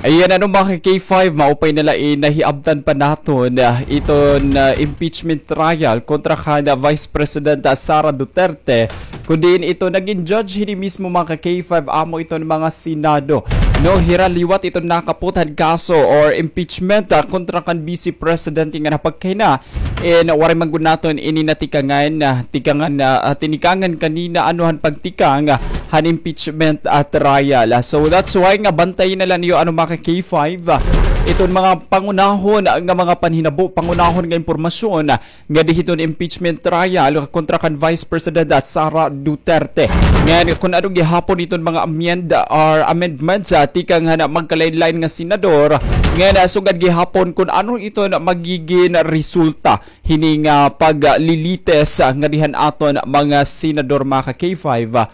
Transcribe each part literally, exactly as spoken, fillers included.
Ayan, ano, mga ka-K five, maupay na la in nahiabtan pa naton, ah, iton, ah, impeachment trial kontra kan, ah, Vice President, ah, Sara Duterte. Kundi ito, nagin judge hini mismo, mga ka-K five, amo iton mga Senado. No, hira liwat iton nakaputhan kaso or impeachment, ah, kontra kan Vice President nga napagkahina. And waray man gud naton ini natikangan, ah, tikangan na, ah, tinikangan kanina ano han pagtikang, ah, han impeachment, ah, trial. Ah, so that's why nga bantayi na la niyo, ano, mga ka-K five, ah, iton mga pangunahon nga mga panhinabo, pangunahon nga impormasyon, ah, nga di hiton impeachment trial kontra kan Vice President, ah, Sara Duterte. Ngan kun ano gihapon iton mga amend or amendments, ah, tikang han magkalain-lain nga senador, ngan, ah, sugad gihapon kun ano iton magigin resulta hini nga paglilitis, ah, ngadi han aton mga senador, mga ka-K five, ah,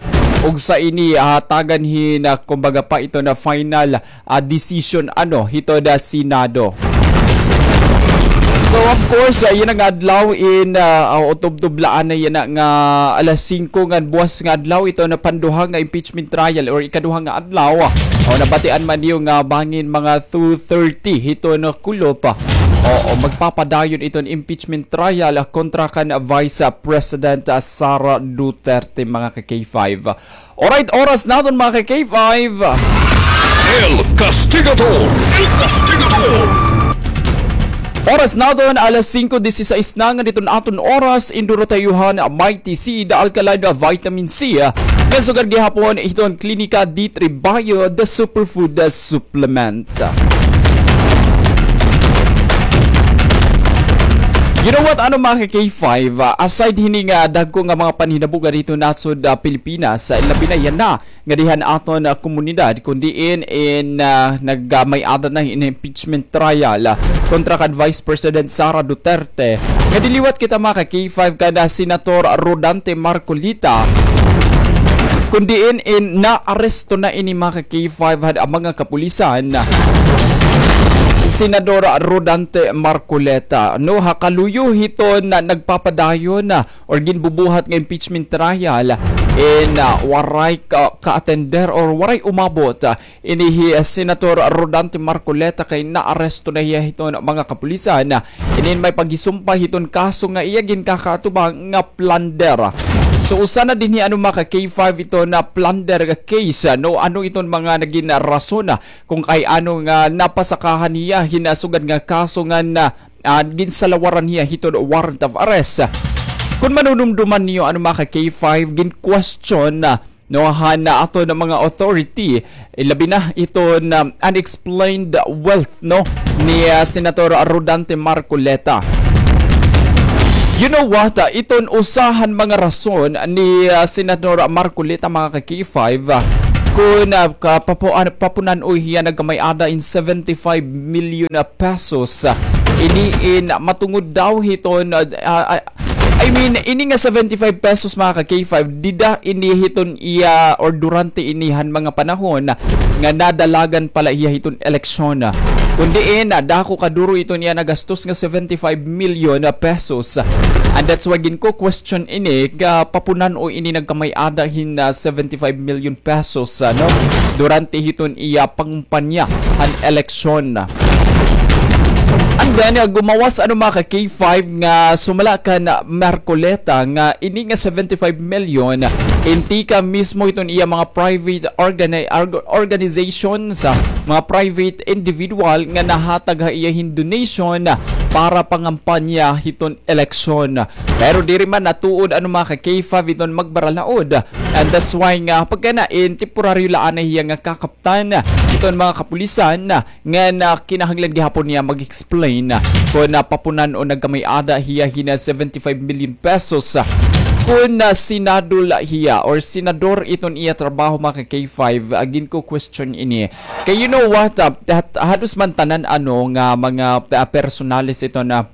ug sa ini, ah, hatagan hin, ah, kumbaga pa ito na final, ah, decision, ano, hito da Senado. So, of course, ah, yana nga adlaw in, ah, ah, utubtub la anay yana nga alas singko ngan buwas nga adlaw ito na panduha nga impeachment trial or ikaduha nga adlaw. O, nabatian man niyo nga bangin mga two thirty hito na kulop. Oo, magpapadayon iton impeachment trial, ah, kontra kan Vice, ah, President, ah, Sara Duterte, mga ka-K five. Alright, oras naton, mga ka-K five. El Castigador! El Castigador! Oras naton, alas singko disisais na nga diton aton oras, induro ta iyo han Mighty C, the alkaline vitamin C. Ngan sugad gihapon hiton Klinika D three Bio, the superfood, the supplement. You know what, ano, mga ka-K five, ah, aside hini nga dagko nga mga panhinabo nga dito nasod, ah, Pilipinas, ah, labi na yana nga dihan aton, ah, komunidad, kun diin in, ah, nagkamay-ada na in impeachment trial, ah, kontra kan Vice President Sara Duterte. Nga diliwat kita, mga ka-K five, kan, ah, Senator Rodante Marcoleta. Kun diin in naaresto na ini, mga ka-K five, han mga kapulisan, Senador Rodante Marcoleta. No, ha kaluyo hiton nagpapadayon, ah, or ginbubuhat nga impeachment trial in, ah, waray ka, ka-attender or waray umabot, ah, ini hi, ah, Senator Rodante Marcoleta kay naaresto na hiya hiton mga kapulisan, ah, inin may paghisumpay hiton kaso nga iya ginkakaatubang nga plunder. So, usa na dinhi, ano, mga ka-K five, ito na plunder case, ah, no? Ano iton mga nagin rason, ah, kung kay ano nga napasakahan hiya hin sugad nga kaso nga na, ah, ginsalawaran hiya hiton warrant of arrest. Kun manunumduman niyo, ano, mga ka-K five, gin-question, ah, no, han aton mga authority, eh, labi na iton unexplained wealth, no, ni, ah, Senator Rodante Marcoleta. You know what? Ah, iton usa han mga rason ni, ah, Senator Marcoleta, mga ka-K five, ah, kun, ah, ka-, papu-, ah, papunan-oy hiya nagkamay-ada in seventy-five million, ah, pesos. Ah, ini in matungod daw hiton, ah, ah, ah, I mean, ini nga seventy-five pesos, mga ka-K five, dida ini hiton iya or durante ini han mga panahon nga nadalagan pa la hiya hiton eleksyon. Kun diin, ah, dako kaduro iton iya nagastos nga seventy-five million pesos. And that's why ginko-question ini, nga papunan-oy ini nagkamay-ada hin, ah, seventy-five million pesos, ano, durante hiton iya pangumpanya han eleksyon. And then, uh, gumawas, ano, mga ka-K five, nga sumala kan Marcoleta nga ini nga seventy-five million, in tikang mismo hiton iya mga private organi-, org-, organizations, ah, mga private individual nga nahatag ha iya hin donation, ah, para pangampanya hiton eleksyon. Pero diri man natuod, ano, mga ka-K five, iton magbaralaod. And that's why nga pagkanain, temporaryo la anay hiya nga kakaptan iton mga kapulisan, nga na kinahanglan gihapon niya mag-explain kun, ah, papunan-on nagkamay-ada hiya hin seventy-five million pesos, ah, kun, ah, Senado la hiya or senador iton iya trabaho, mga ka-K five, ah, ginko-question ini. Kay you know what, ah, hat-, halos man tanan, ano, nga mga, ah, personalis ito na,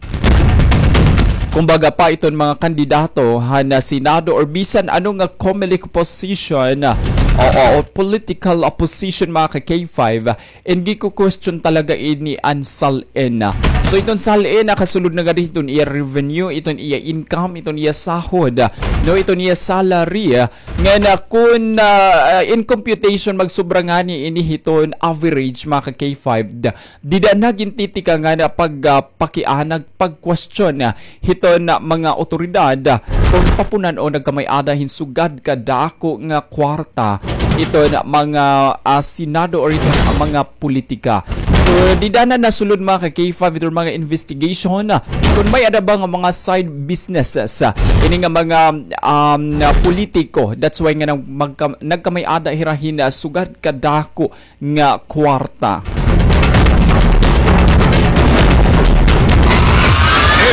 kumbaga pa, iton mga kandidato han, ah, Senado or bisan ano nga COMELEC position, ah, o, o, o political opposition, mga ka-K five, ah, and giko-question talaga ini an SALN. So, So iton SALN, nakasulod na gad iton iya revenue, iton iya income, iton iya sahod, no, iton iya salary, ah, nga na kun, ah, ah, in computation, magsubra ngani ini hiton average, mga ka K five, da-, dida na gintitika nga na pag, ah, pakianag, pag-question, ah, hiton, ah, mga otoridad, ah, kung papunan o nagkamay-ada hin sugad kadako nga kwarta iton mga, ah, Senado or iton mga politika. So, dida na nasulod, mga ka K five, iton mga investigation, ah, kung may-ada ba nga mga side businesses, ah, ini nga mga, um, politiko. That's why nga nag-, magka-, nagkamay-ada hira hin, ah, sugad kadako nga kwarta.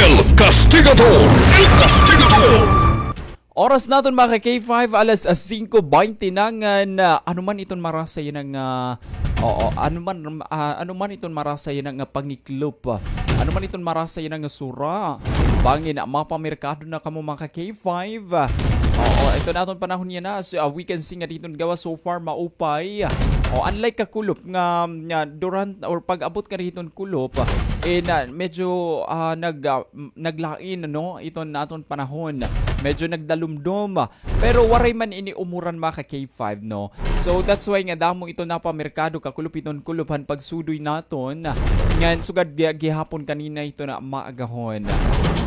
El Castigador! El Castigador! Oras naton, mga ka K five, alas singko baynte na ngan, ah, ano man iton marasa yana nga, oo, ano man, ah, ano man iton marasa yana nga pangiklop, ah, ano man iton marasa yana nga sura. Bangin, ah, mapamerkado na kamo, mga ka K five. Oo, iton aton panahon yana, so, ah, we can see nga didto nga gawas so far maupay. O, unlike kakulop nga, nga durant or pag-abot nga didto nga kulop, eh, na, medyo, ah, nag, ah, m-, naglain, no, iton aton panahon. Medyo nagdalumdom. Pero waray man ini umuran, mga ka K five, no? So, that's why nga damo iton napamerkado, kakulop iton kulop han pagsudoy naton. Ngan sugad gi-, gihapon kanina iton maagahon.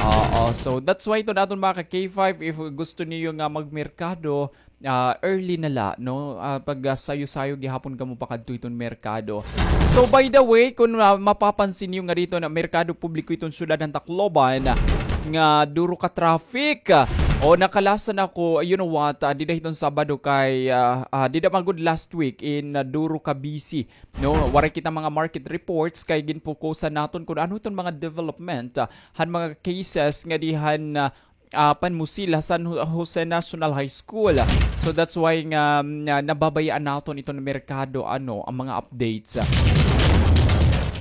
Oo, so that's why iton aton, mga ka K five, if gusto niyo nga magmerkado, ah, early na la, no? Ah, pag, ah, sayo-sayo gihapon kamo pakadto iton merkado. So, by the way, kun, ah, mapapansin niyo nga didto nga merkado publiko iton syudad han Tacloban, nga duro ka traffic, ah, o nakalasan ako, you know what, ah, dida hiton Sabado kay, ah, ah, dida man gud last week in, ah, duro ka busy, no? Waray kita mga market reports kay ginpokusan naton kun ano iton mga development, ah, han mga cases nga dihan, ah, ah, Panmusil, ha San Ho-, Jose National High School. So that's why nga, mm, nga nababayaan naton iton merkado, ano, an mga updates.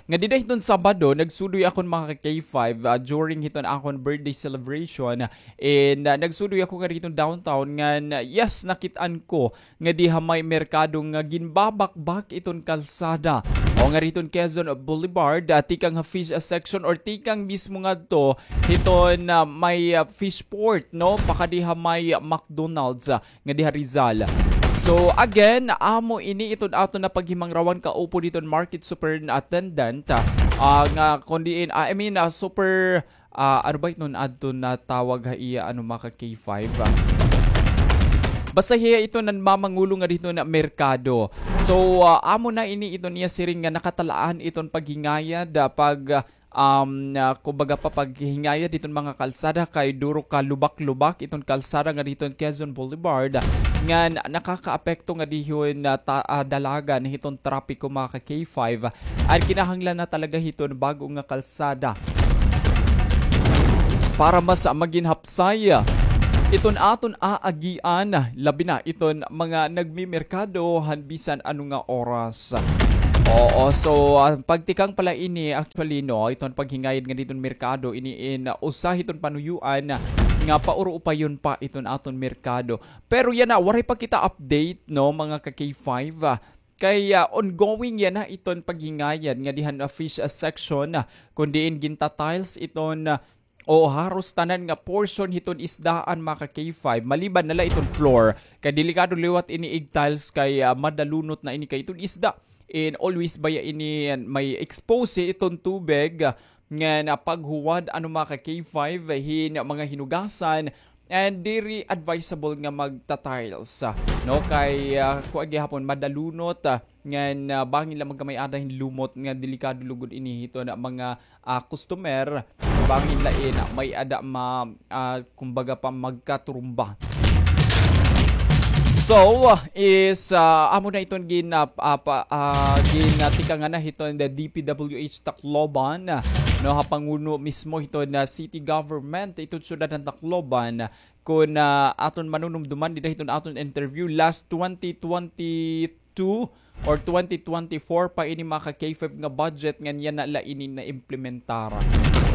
Nga dida hiton Sabado, nagsudoy ako, mga ka K five, ah, during hiton akon birthday celebration. And, ah, nagsudoy ako nga didto downtown ngan, yes, nakit-an ko nga diha may merkado nga ginbabakbak iton kalsada. O nga didto Quezon Boulevard, ah, tikang ha fish, ah, section or tikang mismo ngadto hiton, ah, may, ah, fish port, no? Pakadi ha may McDonald's, ah, nga diha Rizal. So, again, amo ini iton aton nga paghimangrawan kaupod hiton market superintendent, ah, ah, nga kun diin, ah, I mean, ah, super ah, ano ba iton adto nga tawag ha iya, ano, mga ka K five, ah. Basta hiya iton nanmamangulo nga didto nga merkado. So, ah, amo na ini iton iya siring nga nakatalaan iton paghingayad, ah, pag, um, ah, kumbaga pa, paghingayad hiton mga kalsada kay duro ka lubak-lubak iton kalsada nga didto Quezon Boulevard nga na-, nakakaapekto nga didto nga ta-, ah, dalagan hiton trapiko, mga ka K five. An kinahanglan na talaga hiton bag-o nga kalsada para mas magin hapsay iton aton aagian, labi na iton mga nagmimerkado han bisan ano nga oras. Oo, so, ah, pagtikang pala ini, actually, no, iton paghingayad nga didto merkado, ini in, ah, usa hiton panuyoan nga pauruupayon pa iton aton merkado. Pero yana, waray pa kita update, no, mga ka K five, ah, kay, ah, ongoing yana iton paghingayad nga dihan, ah, fish, ah, section, ah, kun diin ginta-tiles iton, ah, o haros tanan nga portion hiton isdaan, mga ka K five, maliban na la iton floor. Kay delikado liwat ini ig-tiles kay, ah, madalunot na ini kay iton isda. And always baya ini, ah, may expose iton tubig, ah, nga napaghuwad, ano, mga ka K five, hin mga hinugasan, and diri advisable nga magta-tiles, ah, no? Kay, ah, kuan gihapon, madalunot, ah, ngan, ah, bangin la magkamay-ada hin lumot nga delikado lugod ini hiton mga, ah, customer, bangin la in, ah, may-ada ma-, ah, kumbaga pa magkaturumba. So, is, ah, amo na iton gin-, ah, ah, pa-, ah, ginatikangan na hiton the D P W H Tacloban, ah, no, ha panguno mismo hiton, ah, city government, iton syudad han Tacloban, kun, ah, aton manunumduman dida hiton aton interview last twenty twenty-two or twenty twenty-four pa ini, mga ka K five, nga budget ngan yana la ini naimplementar.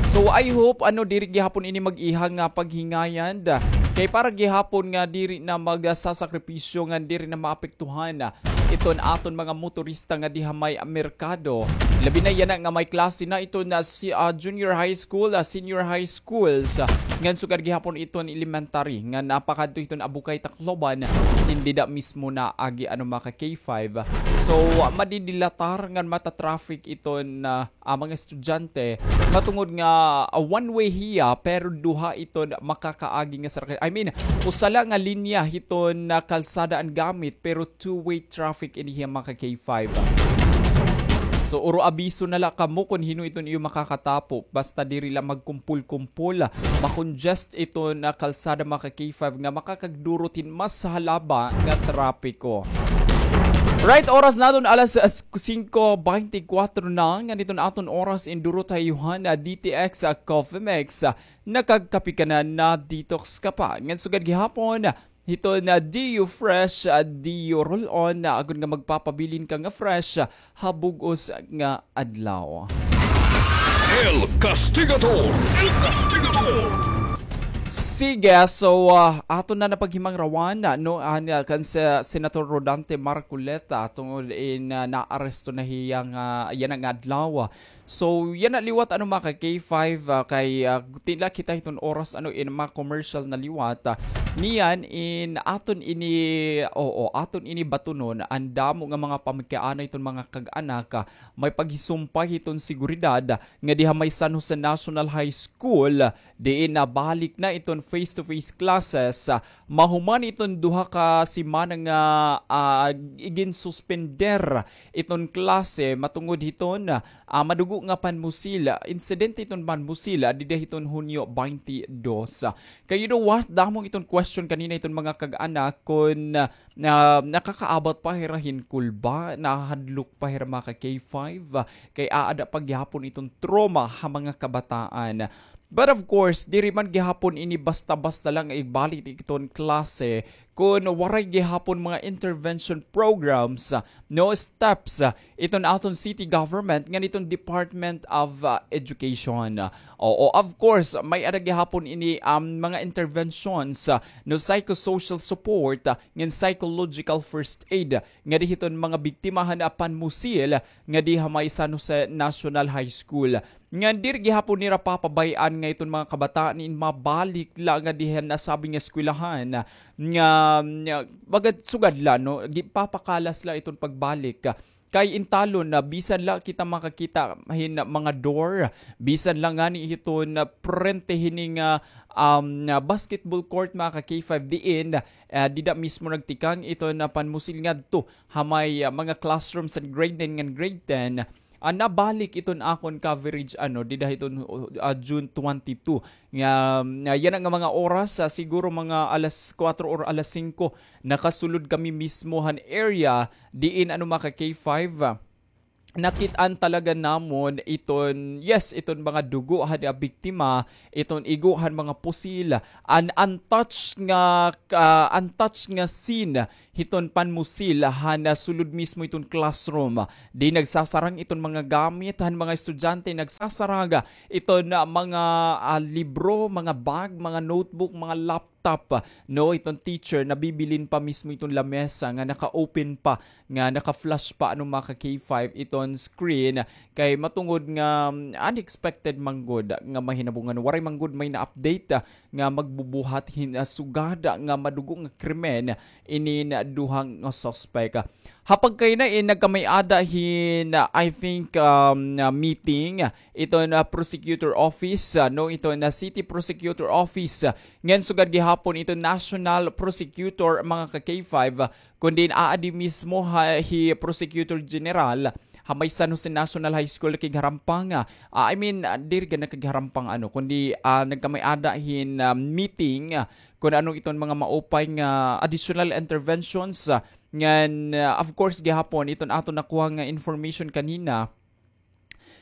So, I hope, ano, diri gihapon ini mag-iha nga paghingayad. Kay para gihapon nga diri na magsasakripisyo ngan diri na maapektuhan, ah, iton aton mga motorista nga diha may merkado. Labi na yana nga may klase na iton, ah, si, ah, junior high school, ah, senior high schools, ah, ngan sugad gihapon iton elementary nga napakadto iton Abukay, Tacloban, in dida mismo na agi ano mga ka K five. So, ah, madidilatar ngan mata-traffic iton, ah, ah, mga estudyante, matungod nga, ah, one way hiya, pero duha iton makakaagi nga sarakyan. I mean, usa la nga linya hiton, ah, kalsada an gamit, pero two-way traffic ini hiya, mga ka K five. So, uro abiso na la kamo kon hin-o iton iyo makakatapo. Basta diri la magkumpol-kumpol, makongest iton, ah, kalsada, mga ka K five, nga makakagdurot hin mas halaba nga trapiko. Right, oras naton alas, ah, singko beintikwatro na, ngan iton aton oras in duro ta ha iyo han, ah, D T X, ah, Coffee Mix, ah, nakagkape ka na, na-detox ka pa. Ngan sugad gihapon, hiton D U Fresh, ah, D U Roll-On, ah, agod nga magpapabilin ka nga fresh, ah, ha bug-os nga adlaw. El Castigador! El Castigador! Sige, so, ah, aton na napaghimangrawan, ah, no, an, ah, kan se-, Senator Rodante Marcoleta, tungod in, ah, naaresto na hiya nga, yana nga adlaw. So, yana liwat, ano, mga ka K five, ah, kay, ah, tila kita hiton oras, ano, in mga commercial na liwat, ah, niyan in aton ini, oo, aton ini batunon, an damo nga mga pamagkaanay hiton mga kag-anak, ah, may paghisumpay hiton seguridad, nga diha may San Jose National High School, diin nabalik na iton face-to-face classes, ah, mahuman iton duha ka semana nga, ah, iginsuspender iton klase matungod hiton, ah, madugo nga panmusil, insidente iton panmusil, ah, dida hiton Hunyo twenty-two. Kay you know what? Damo iton question kanina iton mga kag-anak kon, ah, na nakakaabat pa hira hin kulba, nahadlok pa hira mga ka K five, ah, kay aada pa gihapon iton trauma ha mga kabataan. But of course, diri man gihapon ini basta-basta lang ibalik iton klase kun waray gihapon mga intervention programs, ah, no steps, ah, iton aton city government ngan iton Department of, ah, Education. Oo, of course, may-ada gihapon ini, um, mga interventions, ah, no psychosocial support, ah, ngan psychological first aid nga diha hiton mga biktima han panmusil nga diha may San Jose National High School. Ngan diri gihapon nira papabay-an nga iton mga kabataan in mabalik la nga diha nasabi nga eskwelahan nga, nga baga sugad la, no, gipapakalas la iton pagbalik. Kay in talon na bisan la kita makakita hin mga door, bisan la ngani hiton prente hini nga, um, basketball court, mga ka K five, diin, ah, dida mismo nagtikang iton panmusil ngadto ha may, ah, mga classrooms han grade nine ngan grade ten, ah, nabalik iton akon coverage, ano, dida hiton, ah, June twenty-two. Nga, nga yana nga mga oras, ah, siguro mga alas kuwatro or alas singko, nakasulod kami mismo han area diin, ano, mga ka K five, ah, nakit-an talaga namon iton, yes, iton mga dugo han, ah, biktima, iton igo han mga pusil, an untouched nga, ah, untouched nga scene hiton panmusil han, ah, sulod mismo iton classroom. Di nagsasarang iton mga gamit han mga estudyante, nagsasarang iton, ah, mga, ah, libro, mga bag, mga notebook, mga laptop, no, iton teacher, nabibilin pa mismo iton lamesa nga naka-open pa, nga naka-flash pa, ano, mga ka K five, iton screen, kay matungod nga, mm, unexpected man gud nga mahinabo ngan waray man gud may na-update, ah, nga magbubuhat hin, ah, sugad nga madugo nga krimen inin duha nga suspect. Ha pagkaina in nagkamay-ada hin, ah, I think, um, ah, meeting iton, ah, prosecutor office, ah, no, iton, ah, city prosecutor office, ah, ngan sugad gihapon iton national prosecutor, mga ka K five, ah, kundi aadi mismo ha, hi Prosecutor General ha may San Jose National High School kigharhampang, ah, I mean, ah, diri gani kigharhampang, ano, kundi, ah, nagkamay-ada hin, ah, meeting, ah, kun ano iton mga maupay nga additional interventions, ah, ngan, ah, of course, gihapon iton aton nakuha nga information kanina,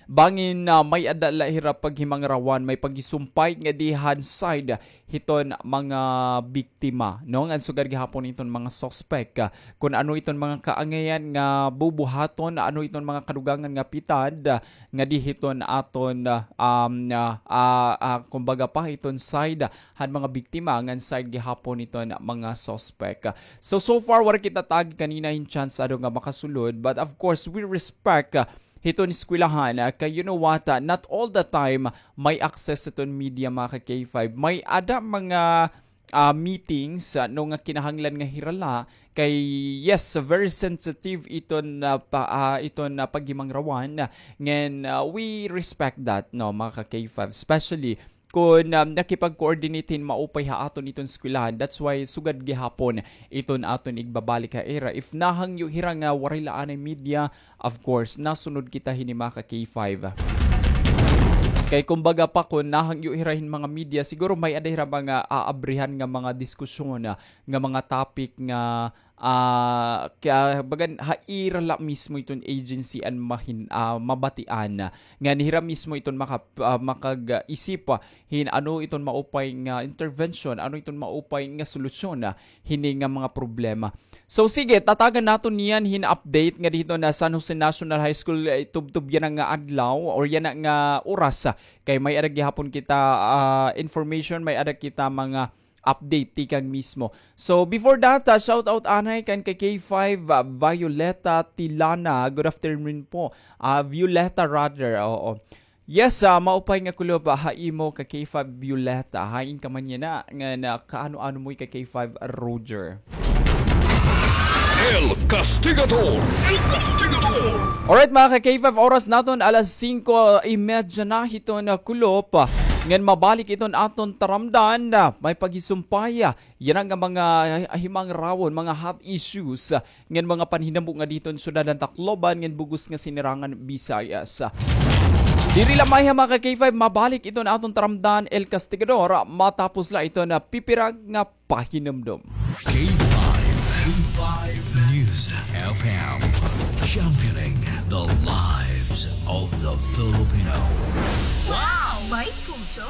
Bangin, ah, may-ada la hira paghimangrawan, may paghisumpay ngadi han side hiton mga biktima, no? Ngan sugad gihapon iton mga suspek, ah, kun ano iton mga kaangayan nga bubuhaton, ano iton mga kadugangan nga pitad, ah, ngadi hiton aton, ah, um, ah, ah, ah, kumbaga pa, hiton side han mga biktima, ngan side gihapon hiton mga suspek. So, so far, wara kita tagi kanina hin chance ado nga makasulod, but of course, we respect, ah, hiton eskwelahan, ah, kay you know what, ah, not all the time may access hiton media, mga ka-K five. May-ada mga, ah, meetings, ah, no, nga kinahanglan nga hira la, kay yes, very sensitive iton, ah, pa, ah, iton, ah, paghimangrawan, ah, ngan, ah, we respect that, no, mga ka-K five, especially kun, um, nakipag-coordinate hin maupay ha aton iton eskwelahan. That's why sugad gihapon iton aton igbabalik ha ira. If nahangyo hira nga waray la anay media, of course, nasunod kita hini, mga ka-K five. Kay kumbaga pa, kun nahangyo hira hin mga media, siguro may-ada hira mga aabrihan nga mga diskusyon, ah, nga mga topic nga ah, kay bagan ha ira la mismo iton agency an mahin-, ah, mabatian. Ngan hira mismo iton maka-, ah, makag-isip, ah, hin ano iton maupay nga intervention, ano iton maupay nga solusyon, ah, hini nga mga problema. So sige, tatagan naton niyan hin update ngadi hiton San Jose National High School, eh, tubtob yana nga adlaw or yana nga oras, ah, kay may-ada gihapon kita, ah, information, may-ada kita mga update tikang mismo. So, before that, ah, shout out anay kan ka-K five, ah, Violeta Tilana. Good afternoon po. Ah, Violeta rather, oo. Yes, ah, maupay nga kulop, ah, ha imo ka-K five Violeta. Hain ka man yana, ngan kaano-ano mo ka-K five Roger. El Castigador! El Castigador! Alright, mga ka-K five, oras naton alas singko y medya na hiton kulop. Ngan mabalik iton aton taramdan, ah, may paghisumpay, ah, yana nga mga himangrawon, mga hot issues, ah, ngan mga panhinabo ngadi hiton syudad han Tacloban, ngan bug-os nga sinirangan Visayas. Diri la mayha, mga ka-K five, mabalik iton aton taramdan, El Castigador, ah, matapos la iton, ah, pipira nga pahinumdom. K five, K five News F M, championing the lives of the Filipino. Wow! May puso!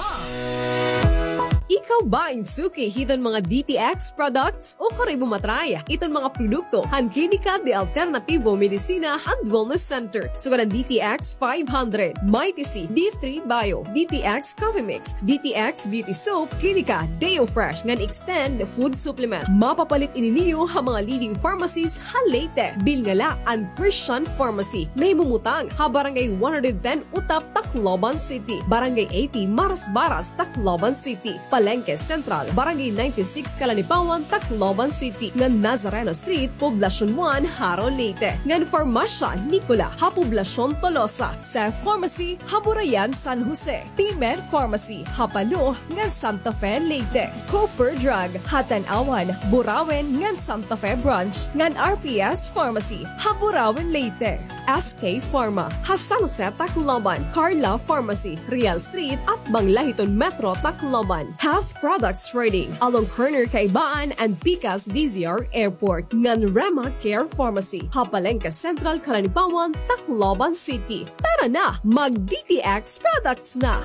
Ikaw ba in suki hiton mga D T X products? O karoy mo matry iton mga produkto han Klinika de Alternativo Medicina and Wellness Center, sugad han D T X five hundred, Mighty C, D three Bio, D T X Coffee Mix, D T X Beauty Soap, Klinika Deo Fresh, ngan Extend Food Supplement. Mapapalit ini niyo ha mga leading pharmacies ha Leyte. Bilnga la an Christian Pharmacy, nahimumutang ha Barangay one hundred ten Utap, Tacloban City, Barangay eighty Marasbaras, Tacloban City, Palengke Central, Barangay ninety-six Calanipawan, Tacloban City, ngan Nazareno Street, Poblacion one, Jaro, Leyte, ngan Farmasya Nicola ha Poblacion Tolosa, Seth Pharmacy ha Burayan, San Jose, P-Med Pharmacy ha Palo ngan Santa Fe, Leyte, Cooper Drug ha Tanauan, Burauen ngan Santa Fe Branch, ngan R P S Pharmacy ha Burauen, Leyte, S K Pharma ha San Jose, Tacloban, Carla Pharmacy, Real Street, atbang la hiton Metro Tacloban, Half Products Trading, along corner Kaibaan and Pikas D Z R Airport, ngan Rema Care Pharmacy ha Palengke Central, Calanipawan, Tacloban City. Tara na, mag-D T X products na!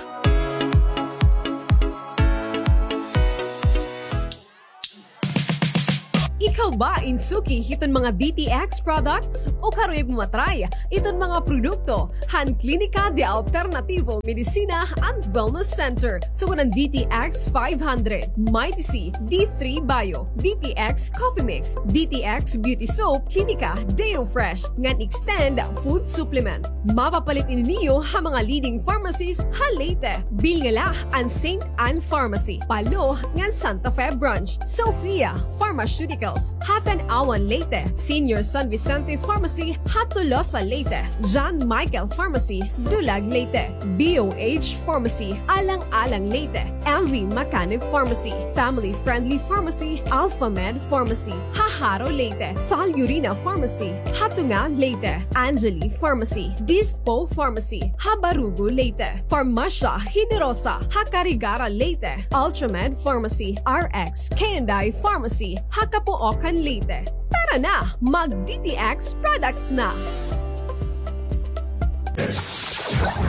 Ikaw ba in suki hiton mga D T X products? O karuyag mo matry iton mga produkto han Klinika de Alternativo Medicina and Wellness Center, sugad han D T X five hundred, Mighty C, D three Bio, D T X Coffee Mix, D T X Beauty Soap, Klinika Deo Fresh, ngan Extend Food Supplement. Mapapalit ini niyo ha mga leading pharmacies ha Leyte. Bilnga la an Saint Anne Pharmacy, Palo ngan Santa Fe Branch, Sophia Pharmaceuticals ha Tanauan, Leyte, Senior San Vicente Pharmacy ha Tolosa, Leyte, John Michael Pharmacy, Dulag, Leyte, B O H Pharmacy, Alang-alang, Leyte, M V Macanib Pharmacy, Family Friendly Pharmacy, Alpha Med Pharmacy ha Jaro, Leyte, Val Urina Pharmacy ha Tunga, Leyte, Angeli Pharmacy, Dispo Pharmacy ha Barugo, Leyte, Farmasya Generosa ha Carigara, Leyte, Ultramed Pharmacy, R X K and I Pharmacy ha Capoocan, Leyte. Tara na, mag-D T X products na!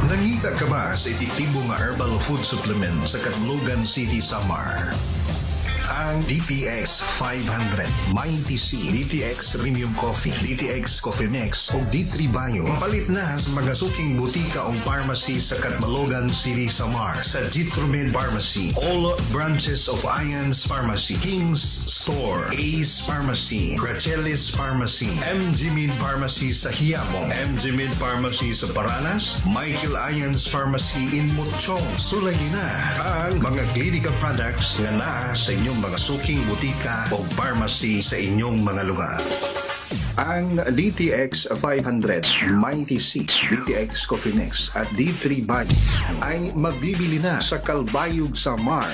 Nangita ka ba sa epektibo nga herbal food supplement sa Catbalogan City, Samar? Ang D T X five hundred, Mighty C, D T X Premium Coffee, D T X Coffee Mix, ug D three Bio. Mapalit na sa mga suking butika o pharmacy sa Catbalogan City, Samar, sa Jitromed Pharmacy, all branches of Ions Pharmacy, King's Store, Ace Pharmacy, Gracelis Pharmacy, M G Med Pharmacy sa Quiapo, M G Med Pharmacy sa Paranas, Michael Ions Pharmacy in Mochong. Sulayi na ang mga Clinica products nga naa sa inyong mga suking butika o pharmacy sa inyong mga lugar. Ang D T X five hundred, Mighty C, D T X Coffee Mix at D three Bio ay mabibili na sa Calbayog, Samar.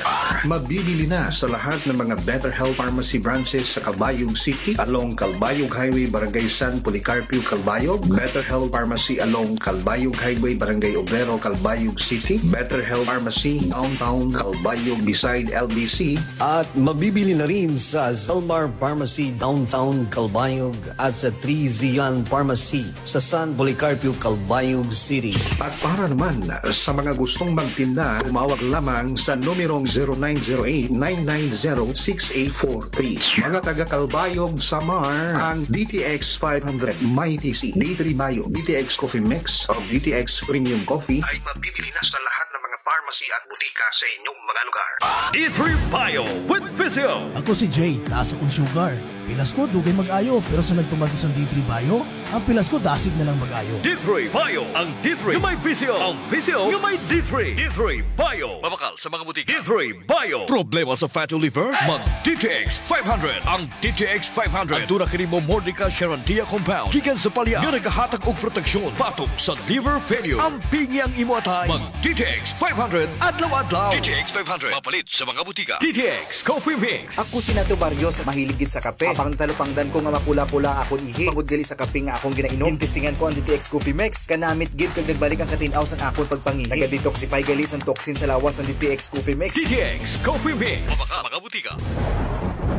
Mabibili na sa lahat ng mga Better Health Pharmacy branches sa Calbayog City, along Calbayog Highway, Barangay San Policarpio, Calbayog, Better Health Pharmacy along Calbayog Highway, Barangay Obrero, Calbayog City, Better Health Pharmacy Downtown Calbayog beside L B C, at mabibili na rin sa Zalmar Pharmacy Downtown Calbayog at sa Three Zion Pharmacy sa San Policarpio, Calbayog City. At para naman sa mga gustong magtinda, tumawag lamang sa numerong zero nine zero eight, nine nine zero, six eight four three. Mga taga Calbayog, Samar, ang D T X five hundred, Mighty C, D three Bio, D T X Coffee Mix, o D T X Premium Coffee ay mabibili na sa lahat ng mga pharmacy at butika sa inyong mga lugar. D three Bio with Physio. Ako si Jay, taas akong sugar. Pilas ko, dugay mag-ayo, pero sa nagtumag ko sa D three Bio, ang pilas ko, dasig na lang mag-ayo. D three Bio, ang D three nga may Physio, ang Physio nga may D three. D three Bio. Mabakal sa mga butika. D three Bio. Problema sa fatty liver? Mag D T X five hundred. Ang D T X five hundred. Aduna kini Momordica charantia compound gikan sa palya nga nagahatag og proteksyon batok sa liver failure. Ampingi ang imo atay. Mag D T X five hundred adlaw-adlaw. D T X five hundred. Mapalit sa mga butika. D T X Coffee Mix. Ako si Nato Barrios, mahilig gid sa kape. Apang natalupangdan ko nga mapula-pula akon ihi tungod gali sa kape nga akon ginainom. Ginestingan ko ang D T X Coffee Mix. Kanamit gid kag nagbalik ang katin-aw sang akon pagpangihi. Naga-detoxify gali sang toxin sa lawas ang D T X Coffee Mix. D T X Coffee Mix. Mabakal sa mga butika.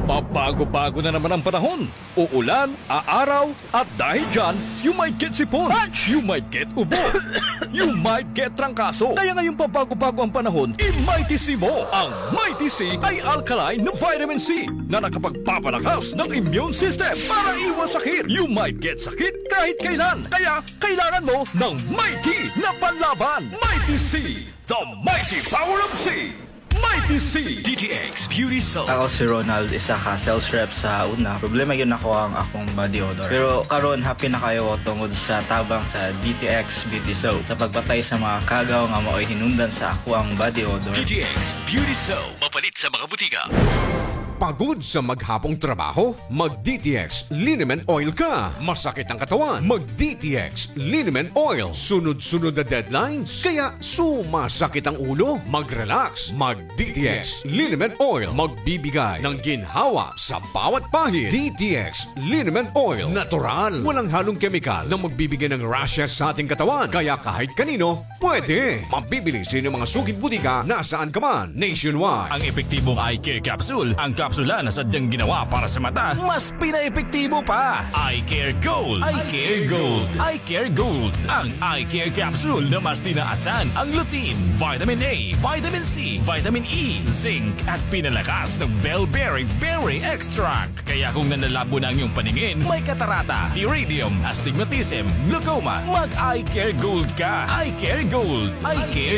Pabago-bago na naman ang panahon. Uulan, aaraw, at dahil dyan, you might get sipon, you might get ubo, you might get trangkaso. Kaya ngayong pabago-bago ang panahon, i-Mighty C mo. Ang Mighty C ay alkaline na vitamin C na nakapagpapalakas ng immune system para iwas sakit. You might get sakit kahit kailan. Kaya kailangan mo ng Mighty na panlaban. Mighty C, the mighty power of C. Mighty C. D T X Beauty Soap. Ako si Ronald, isa ka sales rep sa una. Problema gyud nako ang akong body odor. Pero karon, happy na kaayo ko tungod sa tabang sa D T X Beauty Soap sa pagpatay sa mga kagaw nga maoy hinungdan sa akoang body odor. D T X Beauty Soap. Mapalit sa mga butika. Pagod sa maghapong trabaho? Mag D T X Liniment Oil ka. Masakit ang katawan? Mag D T X Liniment Oil. Sunod-sunod na deadlines? Kaya sumasakit ang ulo? Mag-relax. Mag D T X Liniment Oil. Magbibigay ng ginhawa sa bawat pahid. D T X Liniment Oil. Natural. Walang halong kemikal na magbibigay ng rashes sa ating katawan. Kaya kahit kanino, pwede. Mabibili sa inyong mga suking butika nasaan ka man, nationwide. Ang epektibong eye care capsule, ang kapsula na sadyang ginawa para sa mata, mas pinaepektibo pa. Eye Care Gold. Eye Care Gold. Eye Care Gold. Ang eye care capsule na mas tinaasan ang lutein, vitamin A, vitamin C, vitamin E, zinc, at pinalakas ng bell berry berry extract. Kaya kung nanlalabo na ang iyong paningin, may katarata, pterygium, astigmatism, glaucoma, mag-Eye Care Gold ka. Eye Care Gold. Eye Care